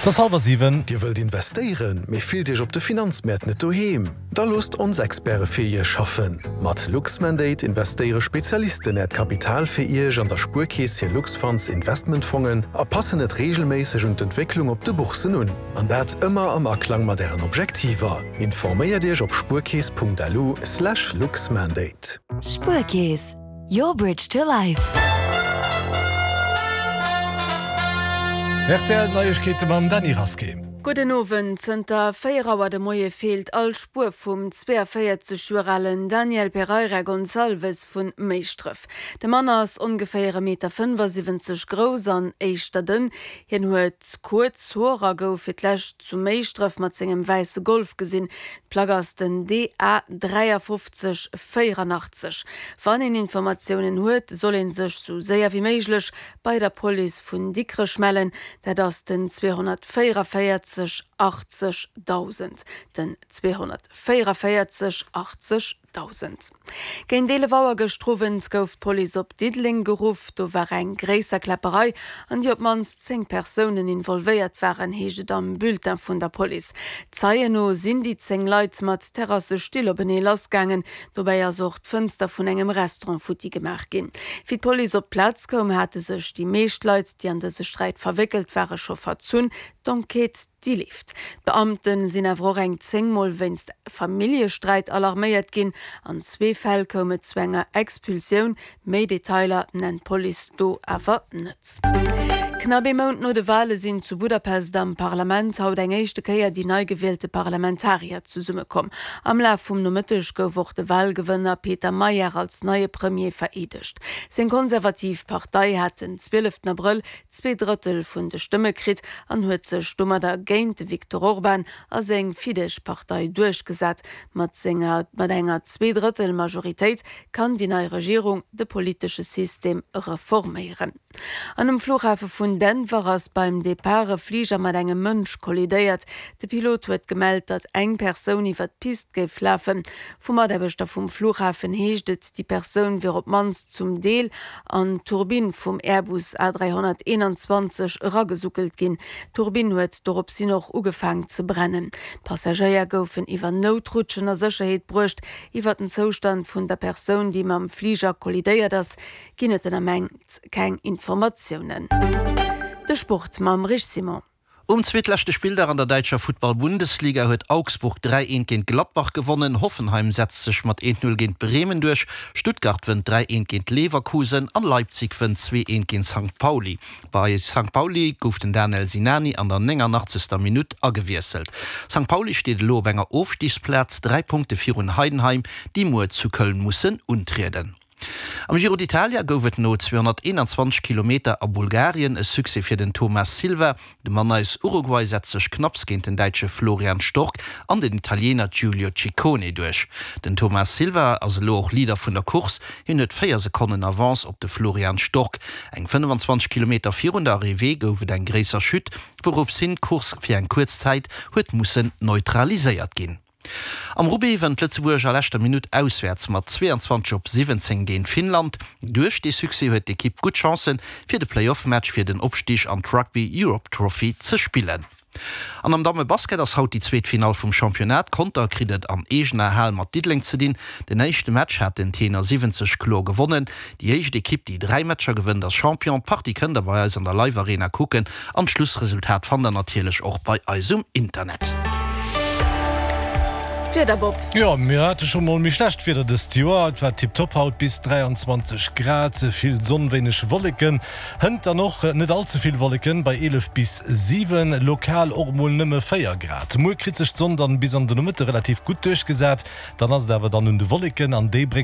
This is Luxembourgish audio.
Et ass hallwer 7. Dir wëllt investéieren, mee fillt Iech op de Finanzmäert net doheem? Da loosst ons Experte fir Iech schaffen! Mat Luxmandate investéiere Spezialisten Äert Kapital fir Iech an der Spuerkeess hir Luxfunds Investmentfongen a passen et reegelméisseg un d'Entwécklung op de Boursen un. An dat ëmmer am Aklang mat Ären Objektiver. Informéiert Iech op spuerkeess.lu/luxmandate. Spuerkeess, Your bridge to life. Rtl Neiegkeete mam Dany Rasqué. Gudden Owend. Zënter 4 Auer de Moie feelt all Spuer vum 42 Joer alen Daniel Pereira Gonçalves vu Méischdref. De Mann ass ongeféier e Meter 75 grouss an éischter dënn. Hien huet kuerz Hoer a gouf fir d'lescht zu Méischdref mat sengem wäisse Golf gesinn. D'Plack ass den DA 53 84. Wann een Informatiounen huet, soll een sech sou séier wéi méiglech bei der Police vun Dikrech mellen. Dat ass den 244 80 1000. Den 244 80 1000. Géint 11 Auer gëschter Owend gouf d'Police op Diddeleng geruff. Do war eng gréisser Kläpperei, an déi op d'mannst 10 Persounen involvéiert waren, heescht et am Bulletin vun der Police. Zeien no sinn déi 10 Leit mat Terrassestill openee lassgaangen. Dobäi ass och d'Fënster vun engem Restaurant futti gemaach ginn. Wéi d'Police op d'Plaz koum, hate sech déi meescht Leit, déi an dëse Sträit verwéckelt ware scho verzunn. D'Enquête, déi leeft. D'Beamte sinn awer och eng 10 Mol wéinst Familljesträit alarméiert ginn. An zwee Fäll koum et zu enger Expulsioun. Méi Detailer nennt d'Police do awer net. Knapp ee Mount no de Wale sinn zu Budapest am Parlament haut eng éischte Kéier déi nei gewielte Parlamentarier zesummekomm. Am Laf vum Nomëtteg gouf och de Walgewënner Peter Magyar als neie Premier vereedegt. Seng konservativ Partei hat den 12 Abrëll Zweedrëttel vun de Stëmme kritt an huet sech domadder géint de Viktor Orban a seng Fidesz-Partei duerchgesat. Mat senger mat enger Zweedrëttel-Majoritéit kann déi nei Regierung de politesche System reforméieren. An um Flughafe vun Denver ass beim Depart e Fliger mat engem Mënsch kollidéiert. De Pilot huet gemellt, datt eng Persoun iwwer d'Pist géif lafen. Vu Mataarbechter vum Flughafen heescht et, déi Persoun wier op d'mannst zum Deel an d'Turbinn vum Airbus A321 eragesuckelt ginn. D'Turbinn huet doropshin och ugefaang ze brennen. D'Passagéier goufen iwwer Noutrutschen a Sécherheet bruecht. Iwwer den Zoustand vun der Persoun, déi mam Fliger kollidéiert ass, ginn et den Ament keng Informatiounen. De Sport mam Rich Simon. Um zweetleschte Spilldag an der däitscher Futtball-Bundesliga huet Augsburg 3, 1 géint Gladbach gewonnen. Hoffenheim setzt sech mat 1, 0 géint Bremen duerch, Stuttgart wënnt 3, 1 géint Leverkusen an Leipzig wënnt 2, 1 géint Sankt Pauli. Bei Sankt Pauli gouf den Danel Sinani an der 89. Minutt agewiesselt. Sankt Pauli steet elo op enger Ofstigsplaz, 3 Punkte virun Heidenheim, déi muer zu Köln mussen untrieden. Am Giro d'Italia gouf et no 221 Kilometer a Bulgarien e Succès fir den Thomas Silva. De Mann aus Uruguay setzt sech knapps géint den Däitsche Florian Stork an den Italiener Giulio Ciccone duerch. Den Thomas Silva ass elo och Leader vun der Course, hien huet 4 Sekonnen Avance op de Florian Stork. Eng 25 Kilometer virun der Arrivée gouf et eng gréisser Chute, wourops hin d'Course fir eng kuerz Zäit huet mussen neutraliséiert ginn. Am Rugby wënnt Lëtzebuerg a leschter Minutt auswäerts mat 22 op 17 géint Finnland. Duerch dee Succès huet d'Ekipp gutt Chancen, fir de Playoff-Match fir den Opstig an d'Rugby Europe Trophy ze spillen. An am Damme-Basket ass haut déi zweet Finall vum Championnat. Conter kritt et an eegener Hal mat Diddeleng ze dinn. Den éischte Match hat den Tenor 70 kloer gewonnen. Déi éischt Ekipp, déi 3 Matcher gewënnt, ass Champion. D'Partie kënnt der bei eis an der Live Arena kucken an d'Schlussresultat fannt der natierlech och bei eis um Internet. D'Wieder, Bob. Jo, mir hate scho mol méi schlecht Wieder dëst Joer. Et war tiptop haut, bis 23 Grad, vill Sonn, wéineg Wolleken. Hënt dann och net all ze vill Wolleken bei 11 bis 7, lokal och mol nëmme 4 Grad. Muer kritt sech d'Sonn dann bis an de Nomëtte relativ gutt duerchgesat, dann ass et awer dann un de Wolleken an déi bréngen.